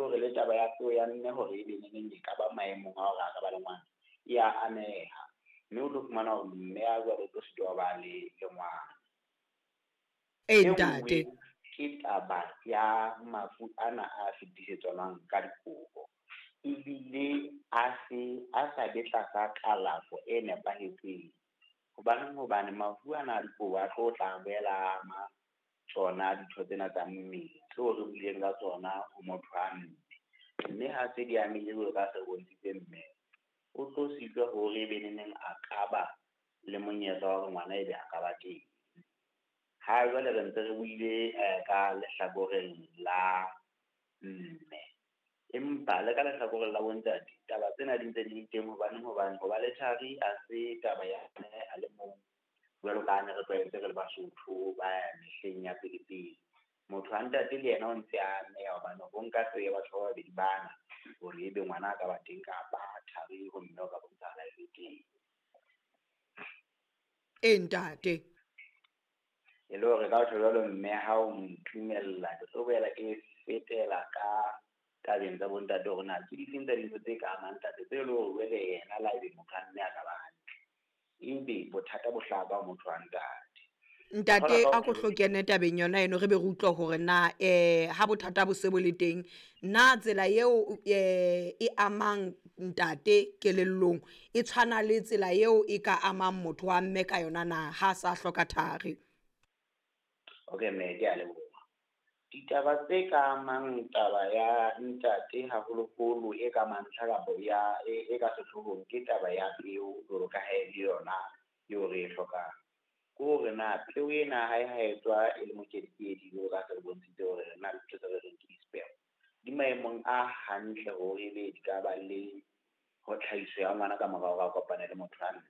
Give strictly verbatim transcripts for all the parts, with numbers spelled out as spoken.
hore le taba ya peo ya mme hore ebe neneng e ka ba maemong a hore a ka ba le ngwana, e ya ameha. Mme o tlo fumana hore mme a jwale o tlo sitwa ho ba le le ngwana. E E ntate. nngwe ke taba ya mafu ana a fetisetswanang ka dikobo, ebile a se a sa be tlasa kalafo e nepahetseng. Hobaneng hobane mafu ana a dikobo a tlo tla boela ama tsona ditho tsena tsa mmele tseo re buileng ka tsona ho motho wa mme. Mme ha se di amehile jwalo ka ha se re bontshitse mme, o tlo sitwa hore ebe neneng a ka ba le monyetla wa hore ngwana ebe a ka ba teng. Ha jwale re ntse re buile ka lehlakoreng la mme, empa le ka lehlakoreng la bo ntate taba tsena di ntse di le teng. Hobaneng hobane ho ba le thari ha se taba ya mme a le mong, jwalo ka ha ne re tlwaetse re le Basotho ba mehleng ya pele pele. Motho wa ntate le yena o ntse a ameha hobane ho nka ya batho ba babedi bana hore ebe ngwana a ka ba teng kapa thari ho mme o ka bontshahala e le teng. E ntate. E le hore ka ho tjho jwalo mme ha o ntumella, ke tlo boela ke fetela ka tabeng tsa bo ntate hore na ke difeng tsa dintho tse ka amang ntate tse leng hore jwale yena le ha ebe motho wa mme a ka ba hantle, ebe bothata bo hlaha ka ho motho wa ntate. Ntate, a ko hlo kene tabeng yona eno, re be re utlwe hore na eh ha bothata bo se bo le teng, na tsela eo eh e amang ntate kelellong e tshwana le tsela eo e ka amang motho wa mme ka yona na ha sa hloka thari? Okay mme, ke a leboha. Ditaba tse ka amang taba ya ntate haholoholo e ka mantlha kapa ya e, e ka sehloohong ke taba ya peo jwalo ka ha e le yona eo re e hlokang. Ke hore na peo ena ha e ha e tswa e le mokedikedi jwalo ka ha se re bontshitse hore re na le ntho tse re reng ke di-sperm, di maemong a hantle hore ebe di ka ba le ho tlhahiso ya ngwana ka mora hore a kopane le motho wa mme.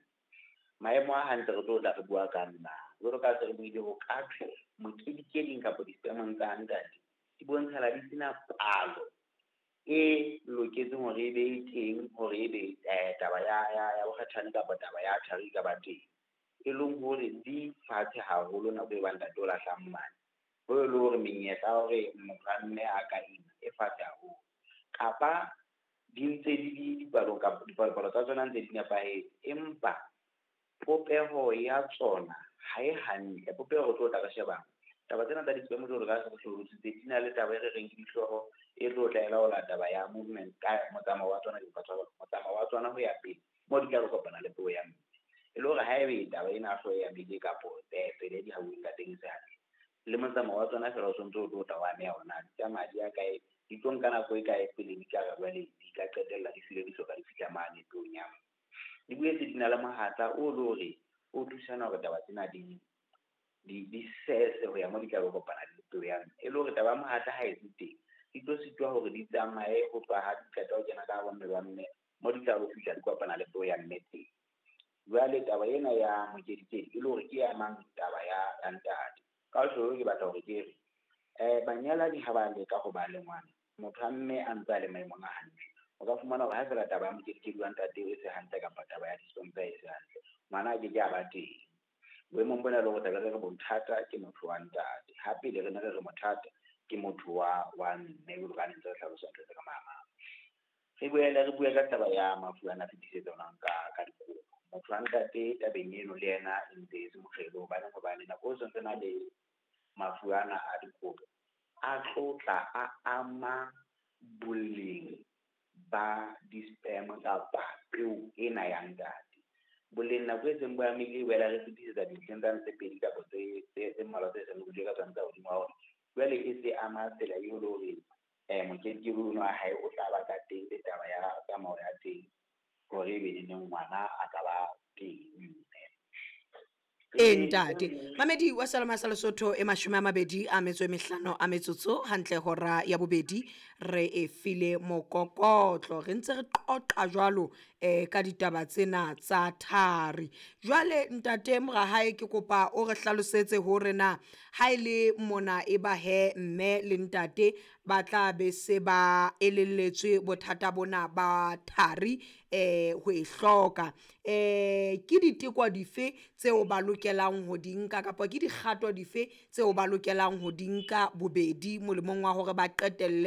Maemo a hantle re tlo tla re bua ka nna. Jwalo ka ha se re buile ho ka thwe mokedikeding kapa di-sperm-ong tsa ntate di bontshala di sena palo e loketseng hore ebe e teng hore ebe taba ya ya ya bokgatjhane kapa taba ya thari e ka ba teng. E leng hore di fatshe haholo nako e bang ntate o lahlang mane. Ho e le hore menyetla ya hore motho wa mme a ka ima e fatshe haholo. Kapa di ntse di le dipalo kapa dipalopalo tsa tsona ntse di nepahetse, empa popeho ya tsona ha e hantle. Popeho re tlo tla re shebang. Taba tsena tsa di-sperm jwalo ka ha se re hlalositse di na le taba e re reng ke dihlooho e tlo tla e laola taba ya movement ka motsamao wa tsona, motsamao wa tsona ho ya pele moo di tla re kopana le peo ya mme. E le hore haebe taba ena ya hlooho ya bele kapo tsela e di hauweng ka teng e se hantle, le motsamao wa tsona feela o sontso o tlo tla wa ameha hore na di tsamaya di ya kae, di tlo nka nako e kae pele di ka re jwale di ka qetella di hlile di soka di fihla mane peong ya mme. Di boetse di na le mohatla o le hore o thusana hore taba tsena di di di sese ho ya moo di tla be kopana le peo ya mme. E le hore taba ya mohatla ha e se teng, di tlo sitwa hore di tsamaye ho tloha ha di qeta ho kena ka hare ho mmele wa mme moo di tla lo fihla di kopana le peo ya mme teng. Jwale taba ena ya mokedikedi e le hore ke e amang taba ya ya ntate. Ka ho tjho ke batla hore ke re, eh banyalani ha ba leka ho ba le ngwana, motho wa mme a ntse a le maemong a hantle, o ka fumana hore ha feela taba ya mokedikedi wa ntate e se hantle kapa taba ya di-sperm tsa e se hantle, ngwana a ke ke a ba teng. Boemong bona le hore tlabe re re bothata ke motho wa ntate, ha pele re ne re re bothata ke motho wa wa mme jwalo ka ha ne ntse re hlalosa ntho tse ka mahamang. Re boele re bue ka taba ya mafu ana a fetisetswanang ka ka dikobo. Motho wa ntate tabeng eno le yena e ntse e se mokgelo hobane hobane nako eo santse na le mafu ana a dikobo a tlo tla a ama boleng ba di-sperm kapa peo ena ya ntate. Boleng nako e seng bo amehile e boela re fetisetsa dintlheng tsane tse pedi kapa tse tse tse mmalwa tse seng re buile ka tsona tsa hodimo hore jwale e se ama tsela eo le hore eh mokedikedi ono wa hae o tla ba ka teng le taba ya tsamao ya teng hore ebe neneng ngwana a ka ba teng mme. E ntate. Mamedi wa Salama sa Lesotho e mashome a mabedi a metso e mehlano a metsotso hantle hora ya bobedi re e file mokokotlo. Re ntse re qoqa jwalo eh ka ditaba tsena tsa thari. Jwale ntate Morahae ke kopa o re hlalosetse hore na ha ile mona e ba he mme le ntate ba tla be se ba elelletswe bothata bona ba thari eh ho e hloka. Eh ke diteko dife tseo ba lokelang ho di nka kapa ke dikgato dife tseo ba lokelang ho di nka bobedi molemong wa hore ba qetelle